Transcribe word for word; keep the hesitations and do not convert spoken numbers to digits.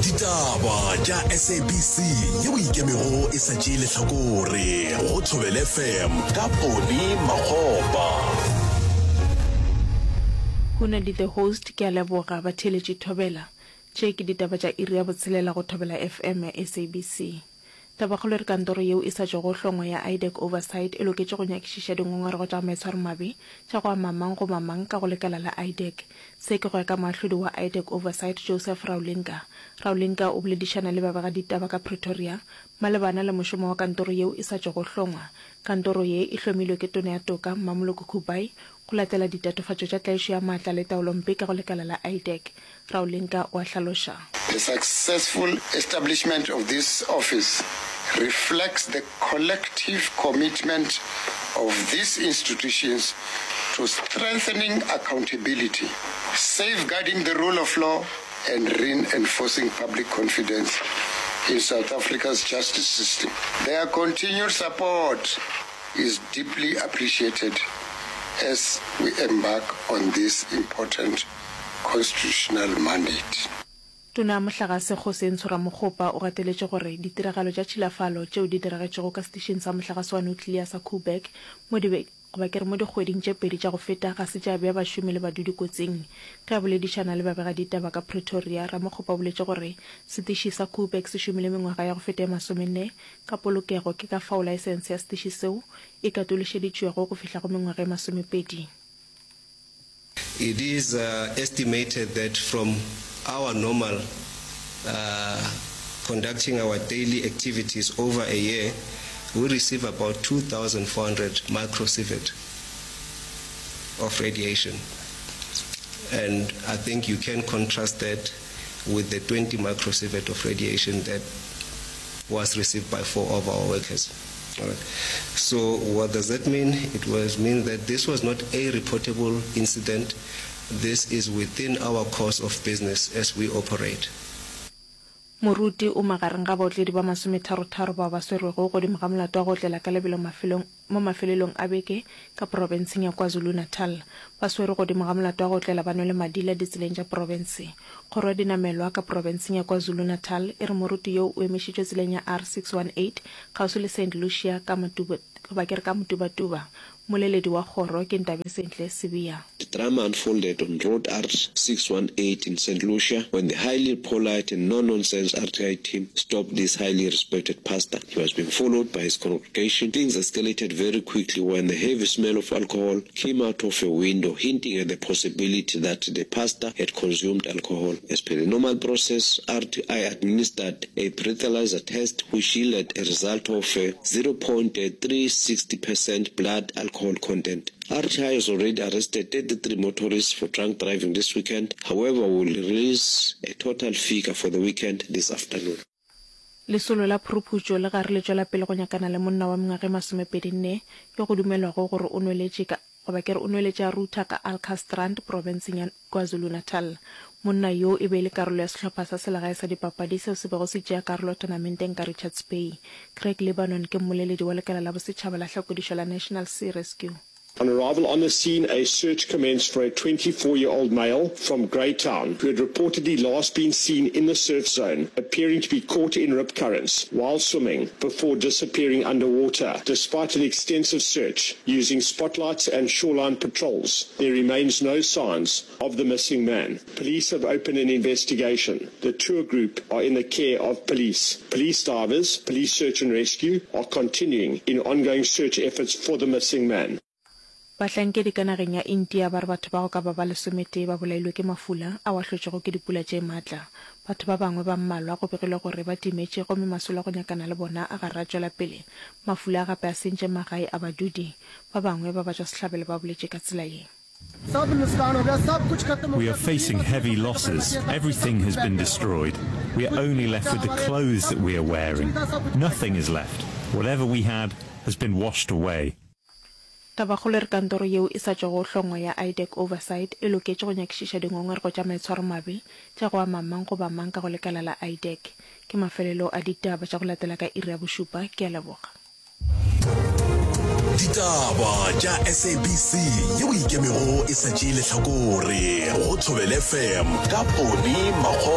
Ditaba tša S A B C yeo ikemego e sa tšee lehlakore go Thobela F M ka Poni Makgopa. Hunadi the host. Ke a leboga batheeletši. Thobela. Tše ke ditaba tša iri ya botshelela go Thobela F M ya S A B C. Tabakgolo e re kantoro yeo e sa tšwago hlongwa ya IDAC Oversight e loketše go nyakišiša dingongorego tša maitshwaromabe tša go ama mang goba mang ka go lekala la IDAC. Se ke go ya ka moahlodi wa IDAC Oversight Joseph Raulinga. Raulinga o boledišana le babegaditaba ka Pretoria malebana le mošomo wa kantoro yeo e sa tšwago hlongwa. Kantoro ye e hlomilwe ke Tona ya Toka Mmamoloko Kubayi go latela ditatofatšo tša tlaišo ya maatla le taolompe ka go lekala la IDAC. Raulinga o a hlaloša. The successful establishment of this office reflects the collective commitment of these institutions to strengthening accountability, safeguarding the rule of law, and reinforcing public confidence in South Africa's justice system. Their continued support is deeply appreciated as we embark on this important constitutional mandate. Tona ya Mohlagase Kgosientsho Ramokgopa o gateletše gore ditiragalo tša tšhilafalo tšeo di diragetšego ka setišing sa mohlagase wa nuclear sa Koeberg mo dibe goba ke re mo dikgweding tše pedi tša go feta ga se tša bea bašomi le badudi kotsing. Ge a boledišana le babegaditaba ka Pretoria, Ramokgopa o boletše gore setiši sa Koeberg se šomile mengwaga ya go feta e masomenne ka polokego, ke ka fao laesense ya setiši seo e katološeditšwego go fihla go mengwaga e masomepedi. It is uh, estimated that from our normal uh, conducting our daily activities over a year, we receive about two thousand four hundred microsievert of radiation. And I think you can contrast that with the twenty microsievert of radiation that was received by four of our workers. All right. So what does that mean? It was mean that this was not a reportable incident. This is within our course of business as we operate. Moruti o magareng ga baotledi ba masometharotharo bao ba swerwego godimo ga molato wa go otlela ka lebelo mafelong mo mafelelong a beke ka profenseng ya KwaZulu-Natal. Ba swerwe godimo ga molato wa go otlela ba nwele madila ditseleng tša profense. Kgoro ya dinamelwa ka profenseng ya KwaZulu-Natal e re moruti yoo o emišitšwe tseleng ya R six one eight kgauswi le Saint Lucia ka Matuba, goba ke re ka Mtubatuba. Mmoleledi wa kgoro ke Ntabesentle Sibiya. The drama unfolded on Road R six one eight in Saint Lucia when the highly polite and no-nonsense R T I team stopped this highly respected pastor. He was being followed by his congregation. Things escalated very quickly when the heavy smell of alcohol came out of a window, hinting at the possibility that the pastor had consumed alcohol. As per the normal process, R T I administered a breathalyzer test which yielded a result of zero point three six zero percent blood alcohol content. R T I has already arrested thirty-three motorists for drunk driving this weekend. However, we will release a total figure for the weekend this afternoon. Lesolo la phuruphutšo le gare le tšwela pele go nyakana le monna wa mengwaga e masomepedi nne yo go dumelwago gore o nweletše ka goba ke re o nweletše a rutha ka Alkantstrand profenseng ya KwaZulu-Natal. Monna yo e be e le karolo ya sehlopha sa selegae sa dipapadi seo se bego se tšea karolo tournamenteng ka Richards Bay. Craig Lebanon ke mmoleledi wa lekala la bosetšhaba la hlakodišo la National Sea Rescue. On arrival on the scene, a search commenced for a twenty-four-year-old male from Greytown who had reportedly last been seen in the surf zone, appearing to be caught in rip currents while swimming before disappearing underwater. Despite an extensive search using spotlights and shoreline patrols, there remains no signs of the missing man. Police have opened an investigation. The tour group are in the care of police. Police divers, police search and rescue are continuing in ongoing search efforts for the missing man. Bahlankedi ka nageng ya India ba re batho ba go ka ba ba lesometee ba bolailwe ke mafula ao a hlotšwego ke dipula tše maatla. Batho ba bangwe ba mmalwa go begilwe gore ba timetše gomme masolo a go nyakana le bona a gare a tšwela pele. Mafula a gape a sentše magae a badudi. Ba bangwe ba batšwasehlabelo ba boletše ka tsela ye. We are facing heavy losses. Everything has been destroyed. We are only left with the clothes that we are wearing. Nothing is left. Whatever we had has been washed away. Tabakgolo e re kantoro yeo e sa tšwago hlongwa ya IDAC Oversight e loketše go nyakišiša dingongorego tša maitshwaromabe tša go ama mang goba mang ka go lekala la IDAC. Ke mafelelo a ditaba tša go latela ka iri ya bošupa. Ke a leboga. Ditaba tša S A B C yeo ikemego e sa tšee lehlakore go Thobela F M ka Poni Makgopa.